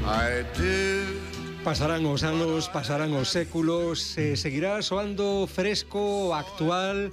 I did. Pasarán os anos, pasarán os séculos, seguirá soando fresco, actual.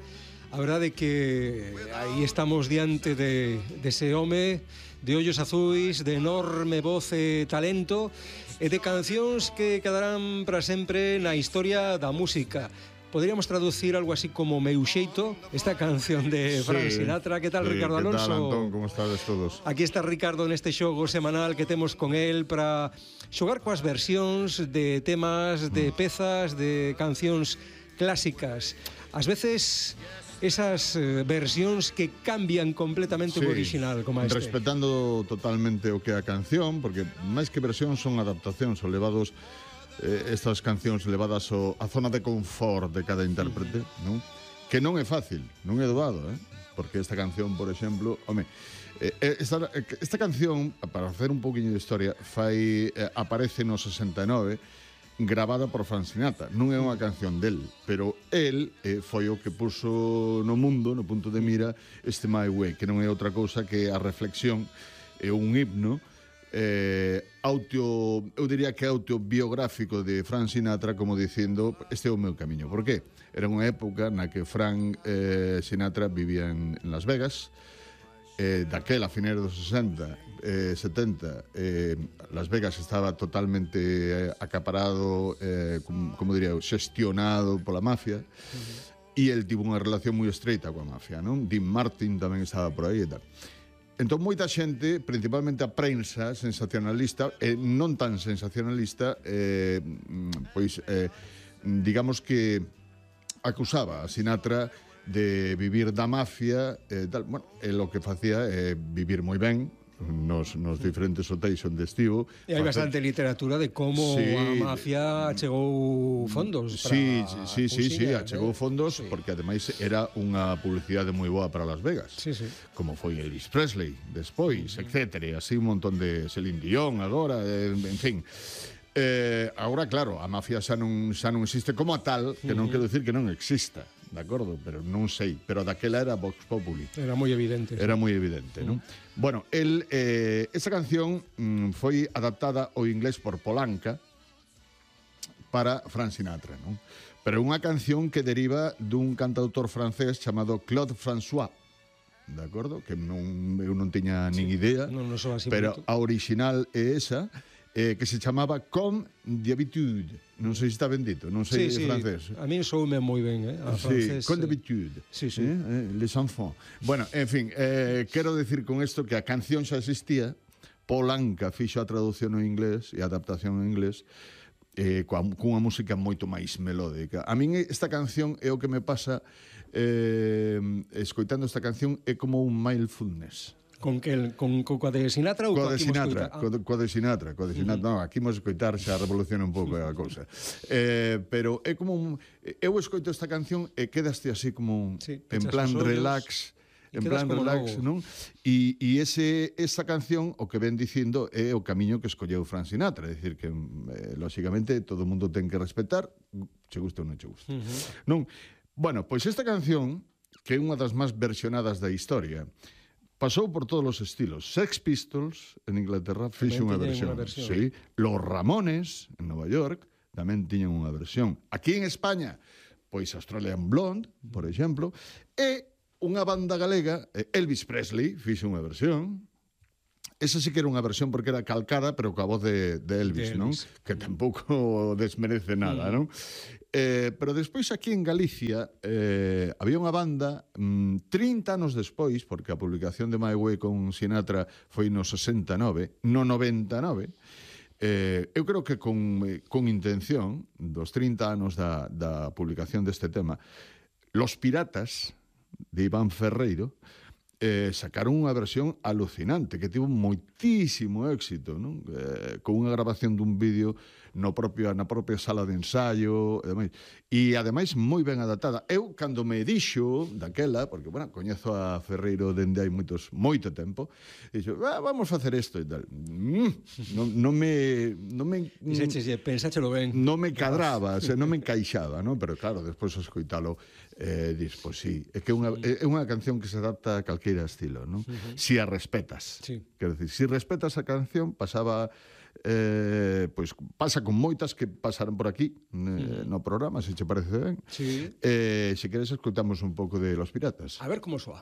A verdade é que aí estamos diante de ese home de ollos azuis, de enorme voz e talento, e de cancións que quedarán para sempre na historia da música. Poderíamos traducir algo así como Meu xeito, esta canción de Frank Sinatra. Que tal, Ricardo Alonso? Que tal, Antón? Como estades todos? Aquí está Ricardo neste xogo semanal que temos con el para xogar coas versións de temas, de pezas, de cancións clásicas. Ás veces esas versións que cambian completamente o original, como este. Respetando totalmente o que é a canción, porque máis que versións son adaptacións ou levados estas cancións levadas á zona de confort de cada intérprete, non? Que non é fácil, non é doado, porque esta canción, por exemplo, esta canción, para hacer un poquinho de historia, aparece no 69, gravada por Frank Sinatra. Non é unha canción del, pero el foi o que puso no mundo, no punto de mira, este My Way, que non é outra cousa que a reflexión, é un himno eu diría que autobiográfico de Frank Sinatra, como dicindo, este é o meu camiño. Por qué? Era unha época na que Frank Sinatra vivía en Las Vegas, daquela, a finais dos 60, 70, Las Vegas estaba totalmente acaparado, como diría, xestionado pola mafia, e el tivo unha relación moi estreita coa mafia, non? Dean Martin tamén estaba por aí e tal. Entón, moita xente, principalmente a prensa sensacionalista, non tan sensacionalista, digamos que acusaba a Sinatra de vivir da mafia, tal. Bueno, o que facía é vivir moi ben nos diferentes hotéis onde estivo. E hai bastante literatura de como a mafia achegou fondos para achegou fondos, porque ademais era unha publicidade moi boa para Las Vegas, como foi Elvis Presley despois, etc. E así un montón de Celine Dion agora, en fin. Agora, claro, a mafia xa non existe como a tal, que non quero dicir que non exista, de acordo, pero non sei, pero daquela era Vox Populi. Era moi evidente. Era moi evidente, non? Bueno, esa canción foi adaptada ao inglés por Polanca para Frank Sinatra, non? Pero é unha canción que deriva dun cantautor francés chamado Claude François, de acordo? Que eu non tiña nin idea, pero a original é esa, que se chamaba Comme d'habitude. Non sei se está ben dito, non sei francés. A mí soume moi ben, a francés. Comme d'habitude. Les enfants. Bueno, en fin, quero decir con isto que a canción xa existía, Polanca fixo a traducción en inglés e a adaptación en inglés, cunha música moito máis melódica. A min esta canción é o que me pasa escoitando esta canción, é como un mindfulness. Con coa de Sinatra ou coa de Sinatra? Coa de Sinatra. Non, aquí imos escoitar xa revoluciona un pouco a cousa. Pero é como eu escoito esta canción e quedaste así como en plan relax, non? E esa canción o que ven dicindo é o camiño que escolleu Frank Sinatra, é dicir que lógicamente todo o mundo ten que respetar, che gusta ou non che gusta. Non? Bueno, pois esta canción, que é unha das máis versionadas da historia, pasou por todos os estilos. Sex Pistols, en Inglaterra, fixo unha versión. Sí. Los Ramones, en Nova York, tamén tiñan unha versión. Aquí en España, pois Australian Blonde, por exemplo, e unha banda galega, Elvis Presley, fixo unha versión. Esa sí que era unha versión porque era calcada, pero coa voz de Elvis, non? Que tampouco desmerece nada, non? Pero despois aquí en Galicia había unha banda 30 anos despois, porque a publicación de My Way con Sinatra foi no 69, no 99, eu creo que con intención dos 30 anos da publicación deste tema, Los Piratas de Iván Ferreiro sacaron unha versión alucinante que tivo moitísimo éxito, non? Con unha grabación dun vídeo na propia sala de ensaio e ademais moi ben adaptada. Eu, cando me dixo daquela, porque, bueno, coñezo a Ferreiro dende hai moito tempo, dixo, vamos facer isto e tal. Non me pensáchelo ben. Non me cadraba, non me encaixaba, non? Pero claro, despois escoitalo, dis, pois sí, é que é unha canción que se adapta a calqueira estilo, non? Si a respetas. Quero dicir, si respetas a canción, pasaba pois pasa con moitas que pasaron por aquí no programa, se che parece ben. Sí. Se queres escoitamos un pouco de Los Piratas. A ver como soa.